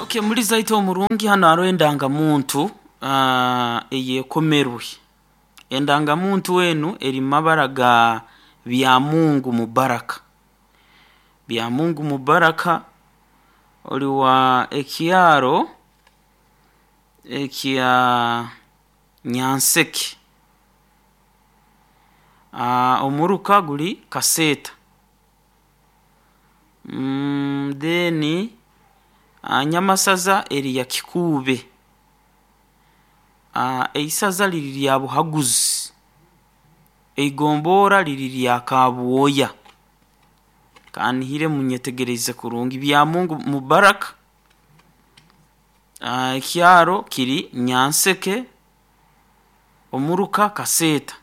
Okay, muri zaito omurungi hano hariho endangamuntu eyekomerwe. Endangamuntu enu eri mu mabara ga Byamungu Mubaraka. Byamungu Mubaraka ori wa ekyaro ekya Nyanseke. Omuruka guri Kaseeta. Then Nyamasaza eri ya Kikuube. Eisaza riri rya Buhaguzi. Eigombora riri rya Kabwoya. Kanihire munyetegereze kurungi. Byamungu Mubaraka ekyaro kiri Nyanseke, omuruka Kaseeta.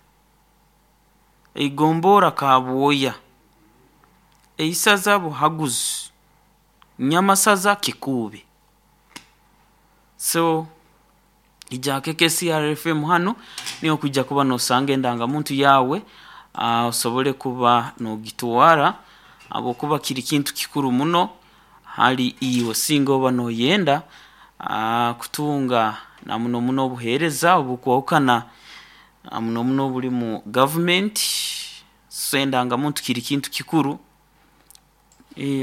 Eigombora Kabwoya. Eisaza Buhaguzi. Nyamasaza Kikuube. So ija KKCR FM hanu niho kujya kuba nosanga endangamuntu yawe, osobole kuba nogitwara habwokuba kiri kintu kikuru muno hali iwe singa oba noyenda kutunga na muno muno obuheereza obukwahukana muno muno oburi mu gavumenti. So endangamuntu kiri kintu kikuru.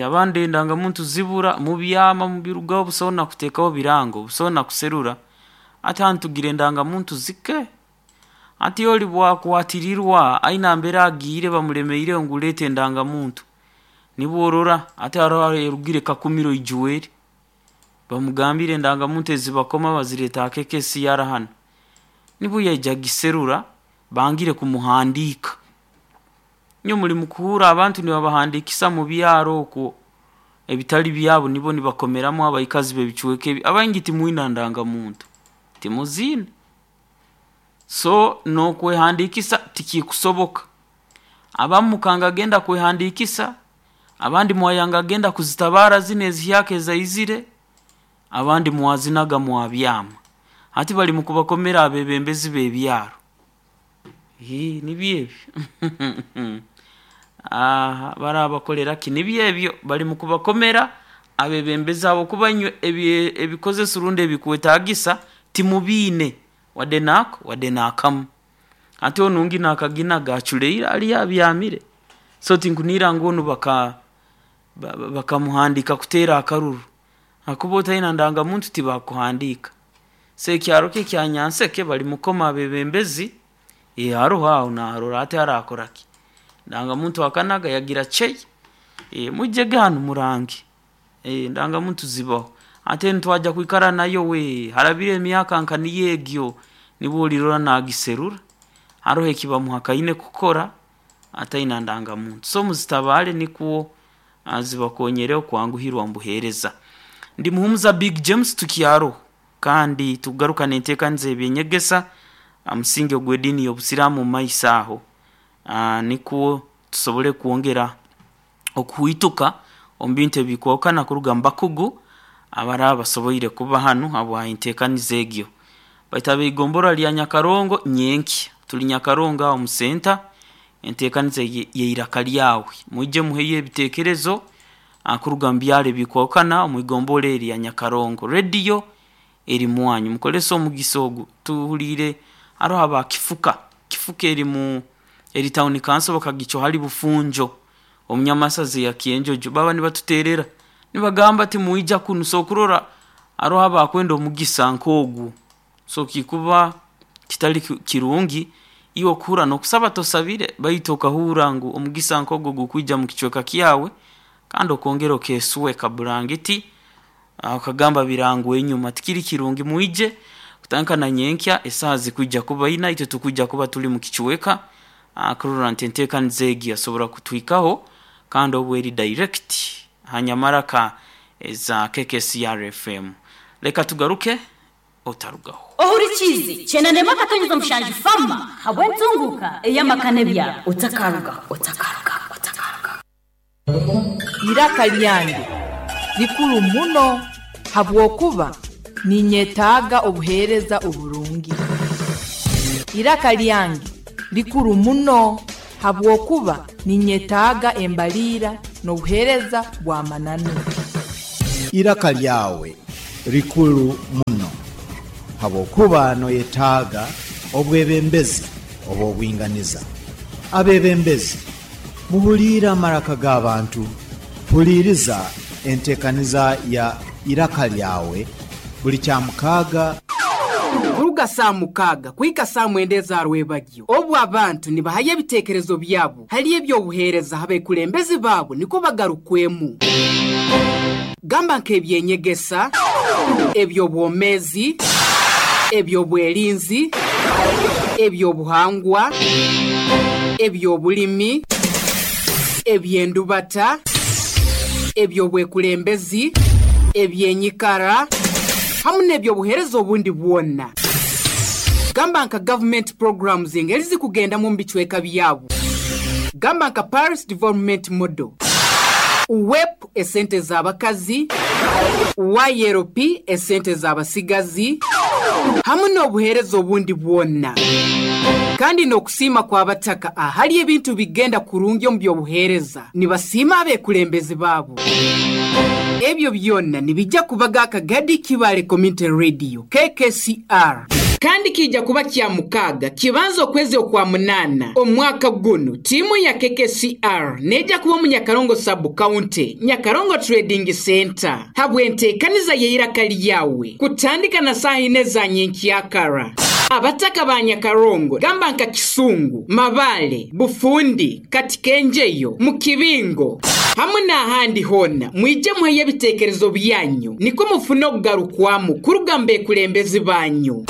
Abandi endangamuntu zibura mubyama mubirugaho busaho na kuteekaho birango, busaho na kuserura. Hati hanu tugira endangamuntu zike. Hati ori bwakwatirirwa aine mbere agiire bamulemeireho ngu leeta endangamuntu. Nibwo orora hati hariho erugire Kakumiro Ijuweri bamugambire endangamuntu ezibakoma bazireeta aha KKCR hanu. Nibwo yaija agiserura bangire kumuhandiika. Inywe muri mukuhurra abantu nibabahandiikisa mu byaro okwo ebitari byabo nibo nibakomeramu abaikazi b'ebicweka ebi. Abaingi timwine ndangamuntu, timuziine. So n'okwehandiikisa tikikusoboka. Abamu mukanga genda kwehandiikisa, abandi mwayanga genda kuzitabaara zinu ezihyaka ezaizire, abandi mwazinaga mwabyama. Hati bari mukubakomera abeebembezi b'ebyaro. Nibyo ebyo. Barabakorera ki? Nibyo ebyo bari mukubakomera abeebembezi habwokuba inywe ebikozeso rundi ebikwetaagisa timubiine wadde naako wadde naakamu. Hati onu ngi naakaginaga aculeire hariyo abyamire. So tinkunihira ngu onu bakamuhandiika kuteera akaruru hakuba otaine ndangamuntu tibakuhandiika. So ekyaro kye ekya Nyanseke bari mukoma abeebembezi, haroho aho naarora hati araakora ki? Endangamuntu akanaga yagira chei, mwijege hanu murange, endangamuntu zibaho. Hati enu twajya kwikara nayo we, harabire emyaka nka niyo egyo nibwo orirora naagiserura, haroho eki bamuhakaine kukora ataine ndangamuntu. So muzitabaare nikwo zibakonyere okwanguhirwa omu buheereza. Ndi Muhumuza Big James tukyaroho kandi tukugaruka n'enteekaniza y'ebyenyegesa aha musingi ogw'ediini y'obusiraamu omu maiso aho, nikwo tusobole kwongera okuhwituka omu bintu ebikwahukana kuruga mu bakugu abaraba basoboire kuba hanu habwa enteekaniza egyo. Baitu ab'eigombora rya Nyakarongo nyenkya, turi Nyakarongo aho omu center, enteekaniza y'eiraka ryawe. Mwije muheyo ebiteekerezo kuruga mu byaro ebikwahukana omu igombora eri erya Nyakarongo. Rediyo eri mwanyu, mukozese omugisa ogu. Tuhuliire haroho aba Kifuka, Kifuka eri mu eri town council bakagicwa hali Bufunjo omu Nyamasaza eya Kyenjojo. Baba nibatuteerera nibagamba timwija kunu, so okurora haroho abakwenda omugisa nk'ogwo. So kikuba kitari kirungi iwe okuhurra n'okusaba tosabire baitu okahurra ngu omugisa nk'ogwo gukwija mu kicweka kyawe kandi okongera okeesweka burangiti okagamba birangwa enyuma. Tikiri kirungi mwije kutandika na nyenkya esaaha zikwija kuba ina itwe tukwija kuba turi mu kicweka kurora nti enteekaniza egi yasobora kutuhikaho kandi obu eri direct ha nyamaraka eza KKCR FM. Leka tugaruke otarugaho. Ohurikiize kyenanemu akatonyeza omushanju fama habw'entunguka ey'amaka n'ebyaro. Otakarugaho, otakarugaho, otakarugaho. Iraka lyange likuru muno habwokuba ninyetaaga obuheereza oburungi. Iraka lyange likuru muno habwokuba ninyetaaga embaliira n'obuheereza bw'amananu. Iraka lyawe rikuru muno habwokuba noyetaaga obwebembezi obw'obwinganiza. Abebembezi, muhuliire amaraka g'abantu. Huliiriza enteekaniza ya Iraka Lyawe buli Kyamukaaga. Kuruga saaha mukaaga kuhika saaha mwenda eza rwebagyo, obu abantu nibahayo ebiteekerezo byabo hali eby'obuheereza ha bekulembezi baabo nikwo bagarukwemu. Gamba nk'ebyenyegesa, eby'obwomeezi, eby'obwerinzi, eby'obuhangwa, eby'obulimi, eby'endubata, eby'obwekulembezi, ebyenyikara, hamu n'eby'obuheereza obundi bwona. Gamba nka gavumenti programs engeri zikugendamu omu bicweka byabo. Gamba nka Parish Development Model, UWEP esente z'abakazi, YLP esente z'abasigazi, hamu n'obuheereza obundi bwona. Kandi n'okusiima kw'abataka ahali ebintu bigenda kurungi omu by'obuheereza, nibasiima abekulembezi baabo. Ebyo byona nibijja kubaga Kagadi Kibaale Community Radio, KKCR. Kandi kiija kuba Kyamukaaga kibanza okwezi Okwamunaana omwaka gunu, tiimu ya KKCR neija kuba omu Nyakarongo Sub-County, Nyakarongo Trading Centre habw'enteekaniza y'eiraka lyawe kutandika na saaha ina eza nyenkyakara. Abataka ba Nyakarongo gamba nka Kisungu, Mabaale, Bufundi, Katikenjeyo, mu kibingo hamu n'ahandi hoona, mwije muheyo ebiteekerezo byanyu nikwo mufune okugarukwamu kuruga mu bekulembezi banyu.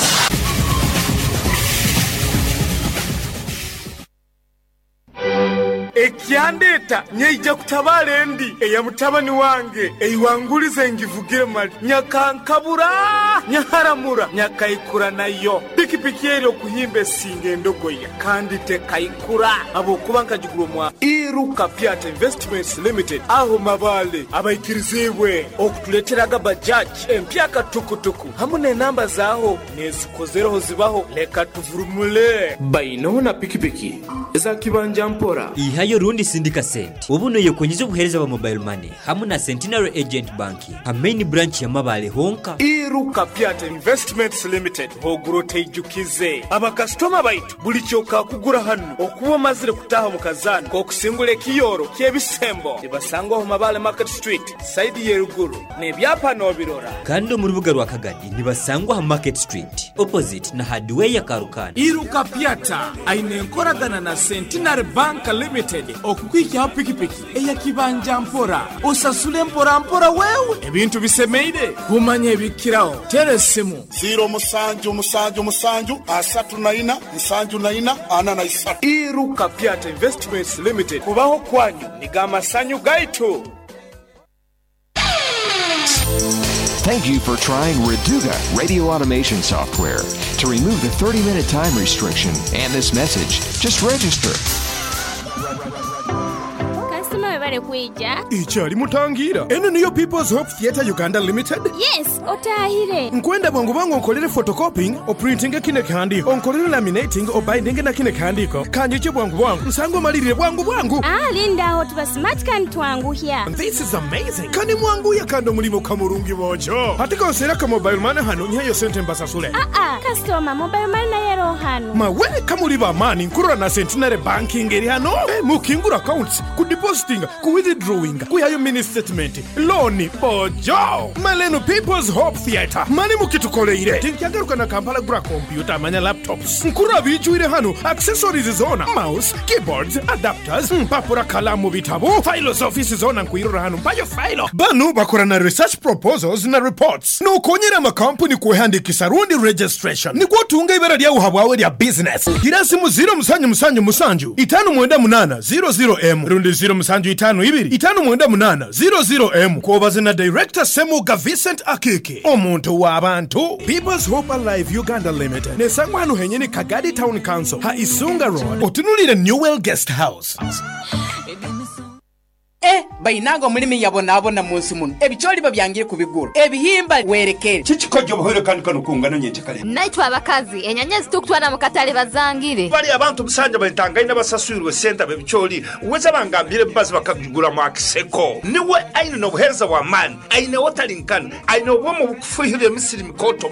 Ekyandeeta nyaija kutabaala endi eya mutabani wange eiwangulize ngivugire mali. Nyakankabura, nyaharamura, nyakaikura nayo. Pikipiki eri okuhimba esinga endogoya kandi tekaikura habwokuba nkagigura omwa Iruka Pyata Investments Limited aho Mabaale abaikiriziibwe okutuleeteraga Bajaj empyaka tukutuku hamu n'enamba zaaho n'ezikozereho zibaho. Leka tuvurumule. Bainoho na pikipiki eza kibanja mpora. Ihayo rundi sindika sente obu noyekonyeza obuhereza bwa mobile money hamu na Centenary Agent Banking ha main branch ya Mabaale honka. Iruka Pyata Investments Limited ogura oteijukize. Abakasitoma baitu buli kyokakugura hanu okuba omazire kutaaha omu kazaano k'okusingura ekiyooro ky'ebisembo nibasangwa omu Mabaale Market Street sayidi y'eruguru n'ebyapa n'obirora. Kandi omu rubuga rwa Kagadi nibasangwa ha Market Street opposite na Hardware Karukanda. Iruka Pyata aine enkoragana na Centenary Bank Limited okukuhikyaho pikipiki eya kibanja mpora osasule mpora mpora wewe. Ebintu bisemeire kumanya ebikiraho tera esimu. Ziiro musanju musanju musanju asatu na ina nsanju na ina ana na isatu. Iruka Pyata Investments Limited kubaho kwanyu nigo amasanyu gaitu. Thank you for trying Reduga radio automation software. To remove the 30-minute time restriction and this message, just register. Kasitoma webale kwija. Ikyali mutangiira. Eno niyo People's Hope Theatre Uganda Limited? Yes, otaahire. Nkwenda bwangu bwangu onkolere photocopying, oprintinge kino ekihandiiko, onkolere laminating, obindinge na kino ekihandiiko. Kanyije bwangu bwangu nsange omalirire bwangu bwangu. Aa linda agho tuba smart kandi twanguhya. This is amazing! Kani mwanguya kandi omulimo ka murungi boojo. Hati konseera ka mobile money hano nyiheyo sente mbasasule. Aa kasitoma mobile money nayo eroho hano. Mawe kamuri ba maani nkurora na Centenary Banking eri hano. Mukingura accounts, ku depositinga, ku withdrawinga, kwihayo mini statement, looni, boojo! Male eno People's Hope Theatre male mukitukoleire. Tinkyagaruka na Kampala gura kompyuta manya laptops. Nkurora biijwire hano, accessories zoona, mouse, keyboards, adapters, mpapura, kalaamu, bitabo, fayilo z'ofiisi zoona nkwirora hano mpayo fayilo. Banu bakora na research proposals na reports n'okonyera amakampuni kwehandikisa rundi registration nikwo otunga eibara lyagho habwawe erya bizinesi. Gira esimu ziiro musanju musanju musanju itaanu mwenda munaana ziiro ziiro emu rundi ziiro musanju itaanu ibiri itaanu mwenda munaana ziiro ziiro emu kwobaze na Director Ssemuga Vincent Akiiki omuntu w'abantu. People's Hope Alive Uganda Limited nesangwa hanu henyini Kagadi Town Council ha Isunga Road otunuliire Newell Guest House. E bainanga omulimi yabonaabona mu nsi muno, ebicooli babyangire kubigura, ebihimba werekere. Kikikojo obuhoire kandi kano kungana nyenkya. Naitwe abakazi enyanya zitukutwara mu katale bazangire. Bali abantu musanja batangaine basaswirwe sente bebicooli weza bangambire bazi bakagura mu akiseko niwe aine n'obuheereza bw'amaani, aine wotalinkana, aine obwomu obukufuhirira emisiri mikoto.